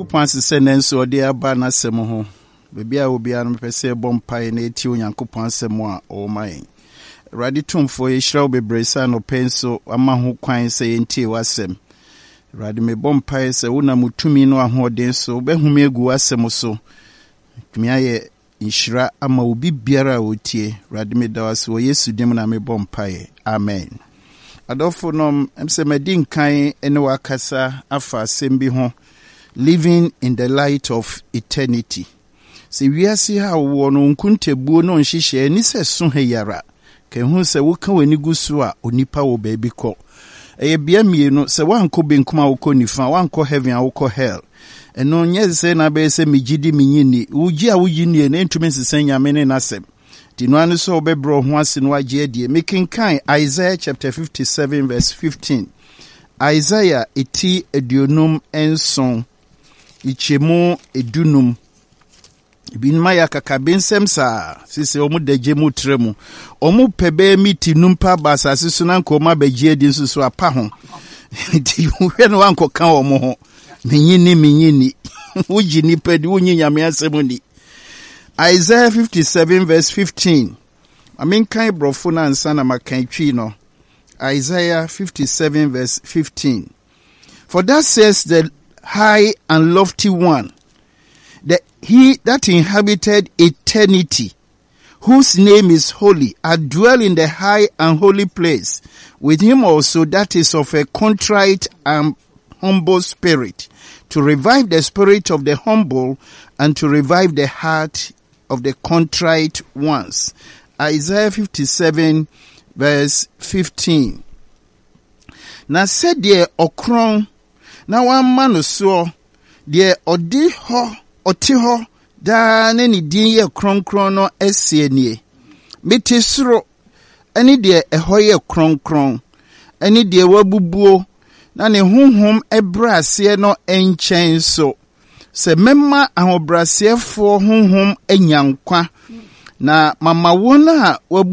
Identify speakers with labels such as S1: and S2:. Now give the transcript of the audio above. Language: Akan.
S1: Onyankopɔn ase sɛ nnɛ nso ɔde aba n'asɛm ho. Baabi a obiara no mepɛ sɛ yɛbɔ mpae na yɛtie Onyankopɔn asɛm a ɔwɔ ma yɛn. Awurade Tumfoɔ, yɛhyira wo bebree sɛ anɔpa yi nso wama ho kwan sɛ yɛntie w'asɛm. Awurade, mebɔ mpae sɛ wonam wo tumi no ahoɔden so wobɛhome agu w'asɛm so. Tumi ayɛ Nhyira ama obi biara a ɔtie. Awurade meda wo ase wɔ Yesu din mu na mebɔ mpaeɛ. Amen. Adɔfo nom, ɛm sɛ madi nkan ne wakasa afa asɛm bi ho, Living in the light of eternity. Sɛ wiase ha a wowɔ no, nkontabuo ne nhyehyɛɛ ni sɛ so ha yi ara. Ka ehu sɛ woka w'ani gu so a, onipa wɔ baabi kɔ. Ɛyɛ bea mmienu, sɛ woankɔ benkum a wokɔ nifa, woankɔ heaven a wokɔ hell. Ɛno nyɛ sɛ na abɛyɛ sɛ megye di menye nni. Wogye a wogye nnie no ɛntumi nsesa Nyame ne n'asɛm. Nti no ara ne sɛ wobɛbrɛ wo ho ase na wagye adie. Mekenkan Isaiah chapter 57 verse 15. Isaiah eti 57 nkyɛmu 15. Ebinom ayɛ akakabensɛm saa sese wɔn da gye mu tra mu. Wɔn pɛ bɛyɛ miti num pa aba asase so na nka wɔn abɛgye adi nso so apa ho. Nti wohwɛ no wankɔka wɔn ho. Menyi ni menyi ni. Wogye nipa di wonyi Nyame asɛm ni. Isaiah 57 verse 15. Ma menkan borɔfo no ansa na makan twi no. Isaiah 57 verse 15. For thus says the high and lofty one, the he that inhabited eternity, whose name is holy, I dwell in the high and holy place, with him also that is of a contrite and humble spirit, to revive the spirit of the humble and to revive the heart of the contrite ones. Isaiah 57 verse 15. Na sɛdeɛ ɔkorɔn na wɔama no soɔ, deɛ ɔde hɔ, ɔte hɔ daa ne ne din yɛ kronkron no seɛ nie, Mete soro ne deɛ ɛhɔ yɛ kronkron, ne deɛ wabubuo na ne honhom brɛ aseɛ no nkyɛn so, sɛ mɛma ahobrɛaseɛfoɔ honhom anya nkwa, na mama wɔn a wabu.